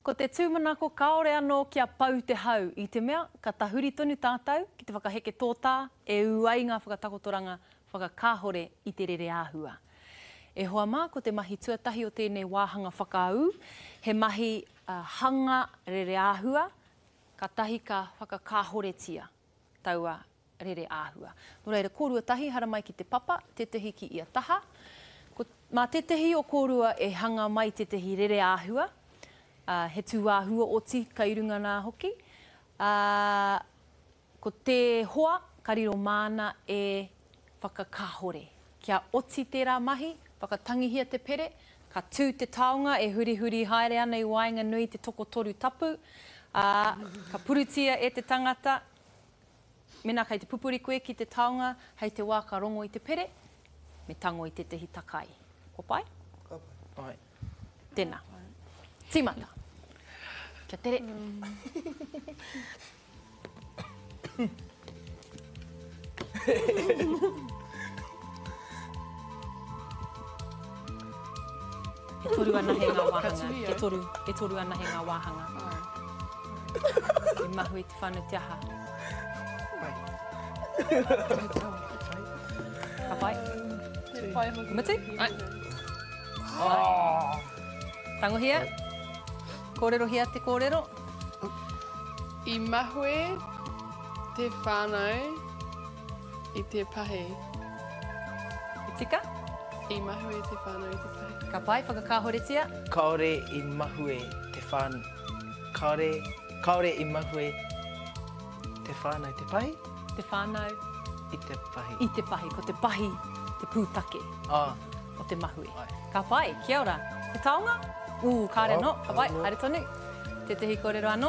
Ko te tūmanako kāore anō kia pau te hau i te mea ka tahuri tonu tātou ki te whakaheke tōtā e ū ai ngā whakatakotoranga whakakāhore i te rereāhua. E hoa mā, ko te mahi tuatahi o tēnei wāhanga whakaū, he mahi hanga rereāhua, kātahi ka whakakāhoretia taua rere āhua. Nō reira, kōrua tahi, haramai ki te papa, tētahi ki ia taha. Ko, mā tētahi o kōrua e hanga mai tētahi rere āhua, ā, he tūāhua oti kai runga nā hoki, ā, ko te hoa ka riro māna e whakakāhore. Kia oti tērā mahi, whakatangihia te pere, ka tū te taonga e hurihuri haere ana i waenganui i te tokotoru tapu, ā, ka purutia e te tangata, Mēnā kei te pupuri koe ki te taonga hei te wā ka rongo i te pere, me tango i tētahi takai. Kua pai? Ka pai. Tēnā. Tīmata. Kia tere. E toru anahe ngā wāhanga. E toru, e toru anahe ngā wāhanga. I mahue te whānau te aha. Pai. Ka pai? Pai hoki. Mutu? Ai. Oh. Tangohia. Kōrerohia te kōrero. I mahue te whānau I te pahi. I tika? I mahue te whānau i te pahi. Ka pai, whakakāhoretia. Kāore i mahue te whānau. Kāore, kāore i mahue te whānau te pahi? Te whānau. I te pahi. I te pahi. Ko te pahi te pūtake. Ah. O te mahue. Ai. Ka pai, kia ora. He taonga? Ū, kāre anō. Ka pai, haere tonu. Tētehi kōrero anō?